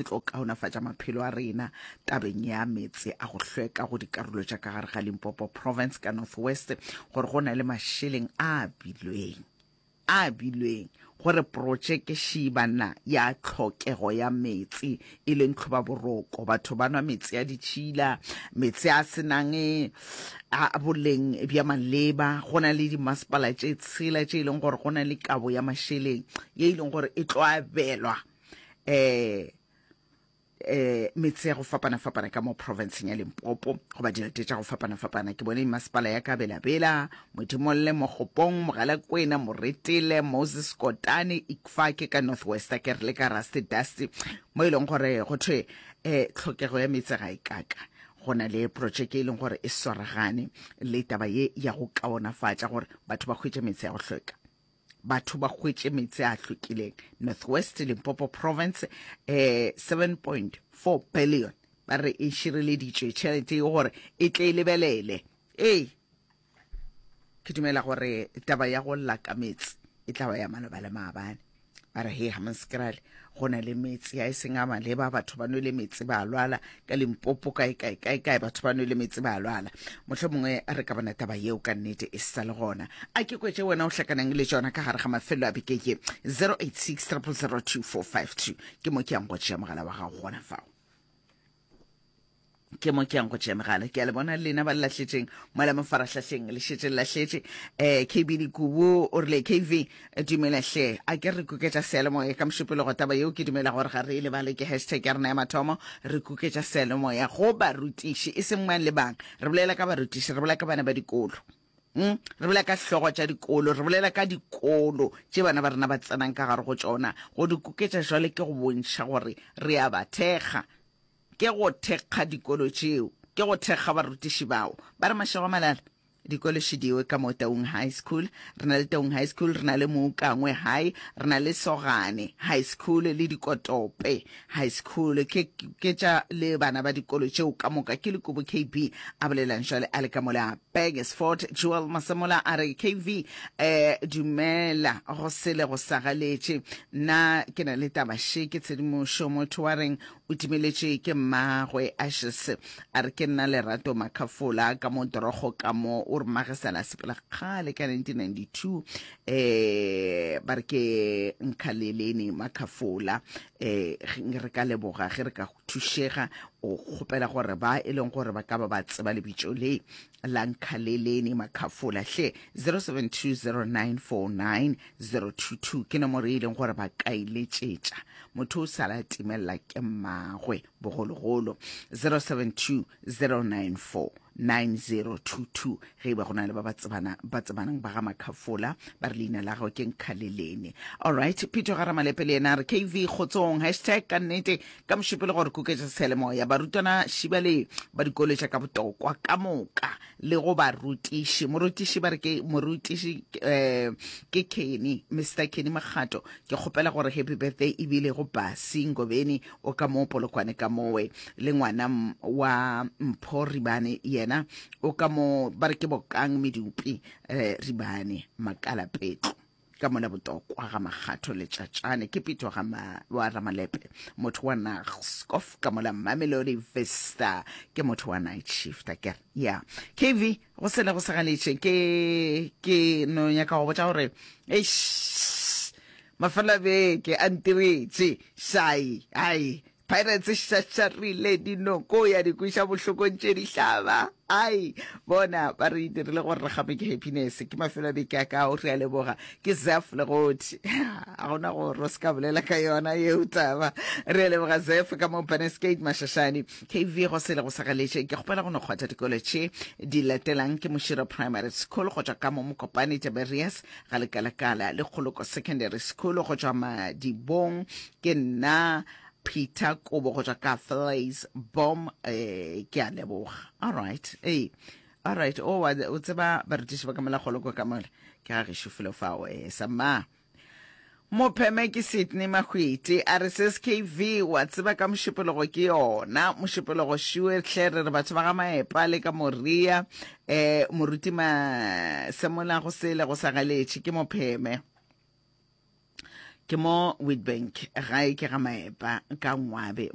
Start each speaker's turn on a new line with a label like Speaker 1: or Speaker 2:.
Speaker 1: tlo kaonafatša maphelo a rena tabeng ya meetse a go hlweka go dikarolo tša ka gare ga Limpopo Province ka North West, gore go na le mašeleng a abilweng a abilweng gore protšeke šibana ya tlhokego ya meetse e leng tlhobaboroko. Batho ba nwa meetse a ditšhila, meetse a se nang a boleng bja maleba. Go na le dimasepala tše tshela tše e leng gore go na le kabo ya mašeleng ye e leng gore e tlo abelwa eh eh metse ya go fapana-fapana ka mo provinceng ya Limpopo goba dilete tša go fapana-fapana. Ke bone masepala ya Kabelabela, Modimolle, Mogopong, Mogalakwena, Moretele, Moses Kotane, Ikfake ka North West, a ke re le ka Rusty Dusty, mo e leng gore go thwe eh tlhokego ya meetse ga e kaka. Go na le projeke e leng gore e swaragane le taba ye ya go kaonafatša gore batho ba hwetše meetse ya go hlweka. Batho ba hwetše meetse a hlwekileng. North West, Limpopo Province, eh, 7.4 billion ba re e šireleditšwe tšhelete ye gore e tle e lebelele. Ee, ke dumela gore taba ya go lla ka meetse e tla ba ya maloba le maabane. Ba re he Hammanskraal go na le meetse a e seng a maleba, batho ba nwele meetse ba lwala ka Limpopo, kae kae kae kae, batho ba nwele meetse ba lwala. Mohlomongwe re ka bona taba yeo ka nnete e sa le gona. A ke kwetše wena o hlakanang le tšona ka gare ga mafelo a beke ye. 086 000 2452 ke mo ke yang go tšea mogala wa gago gona fao. Ke mo ke yang go tšea megala. Ke a le bona lena ba le lahletšeng mola mafarahlahleng, le šetše le lahletše. Eh, KB Dikubu o rile, KV, dumela hle, a ke re kuketša seyalemoya ka Mošupologo. Taba yeo ke dumela gore ga re e lebale, ke hashtag ya rena ya mathomo, re kuketša seyalemoya go barutiši, e seng mang le bang. Re bolela ka barutiši, re bolela ka bana ba dikolo. Mm, re bolela ka hlogo tša dikolo, re bolela ka dikolo tše bana ba rena ba tsenang ka gare go tšona. Go di kuketša jwale ke go bontšha gore re a ba thekga. Ke go thekga dikolo tšeo, ke go thekga barutiši bao. Ba re mašego a malala, dikolo šidiwe ka mo Taung High School. Re na le Taung High School, re na le Moukangwe High, re na le Sogane High School le Dikotope High School. Ke, ke tša le bana ba dikolo tšeo ka moka. Ke Lekubo KB a bolelang jwale a le ka mola Burgersfort. Joel Masemola a re, KV, eh, dumela, go sele go sagaletše. Nna ke na le taba še, ke tshedimošo. Motho wa reng O timeletše ke mmagwe Ashes a re ke nna Lerato Makhafola ka mo Dorogo ka mo o re mmage sala a sepela kgale ka 1992 eh ba re ke Nkhaleleni Makhafola eh re ka leboga ge re ka thušega o kgopela gore ba e leng gore ba ka ba ba tseba lebitso le la Nkhaleleni Makhafola hle 0720949022 ke nomoro e leng gore ba ka e letšetša motho o sala a timelela ke mmagwe bogologolo 0720949022 ge e ba go na le ba ba tsebana ba tsebanang ba ga Makhafola ba re leina la gagwe ke Nkhaleleni. Alright, Peter ga Ramalepe le yena a re KV kgotsong hashtag ka nnete ka mošupelo gore kuketša seyalemoya barutwana šibale ba dikolo tša ka botokwa ka moka le go barutiši. Morutiši ba re ke morutiši eh, ke Kenny, Mr Kenny Makgato. Ke kgopela gore happy birthday ebile go Basi Ngobeni o ka mo Polokwane ka mowe le ngwana wa Mpho Ribane yena o ka mo ba re ke Bokang Medupi eh, Ribane Makalapetlo ka mola botokwa ga Makgatho Letšatšane ke Pito ga ma, wa Ramalepe motho wa Naagskof ka mola Mamelodi Vista ke motho wa night shift a kere ya KV go sele go segaletše ke ke no nyaka go botša gore eish mafelo a beke a ntiretše šai ai Pirates e šašarile dinoko ya di kweša bohlokong tše di hlaba. Ai, bona ba re dirile gore re game ke happiness. Ke mafelo a beke a kao, re a leboga. Ke Zef Legothi. A gona gore o se ka bolela ka yona yeo taba. Re a leboga Zef ka mo Baneskate Mashashane. KV go sele go sagaletše. Ke kgopela go no kgwatha dikolo tše di latelang ke Mošira Primary School go tšwa ka mo Mokopane Tiberias ga Lekalakala le Kgoloko Secondary School go tšwa Madibong. Ke nna Peter Kobo go tšwa ka Flays Bom eh, ke a leboga. All right. Ee. All right. O wa o tseba barutiši ba ka mola kgoloko ka mola. Ke ga gešo felo fao eh samma. Mopheme ke Sydney Mahwiti a re ses KV wa tseba ka mošupologo ke yona mošupologo šiwe hle re re batho ba ga Maepa le ka Moria eh moruti Masemola go sele go sa galetše ke mopheme. Ke mo Witbank, gae ke ga Maepa ka Ngwabe.